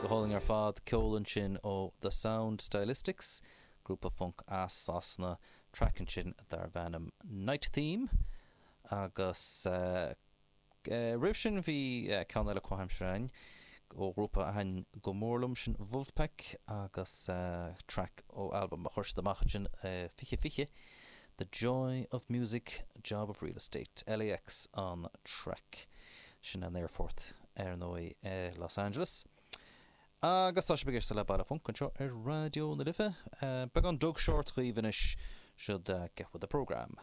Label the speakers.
Speaker 1: Go hálainn ar fad, ceol ansin ó The Sound Stylistics, grúpa func as Sasana, traic ansin darbh ainm Night Theme agus roimh sin bhí ceann eile comhaimseartha againn ó ghrúpa a thaitin go mór liom, sin Vulfpeck agus traic ó albam a chuir siad amach ansin 2020, The Joy of Music, Job of Real Estate, LAX an traic. Sin an aerfort ar ndóigh i Los Angeles. Agus tá sibh ag éisteacht le Baile Func anseo ar Raidió na Life. Beagán Doug Short dhaoibh anois, siod Get With The Programme.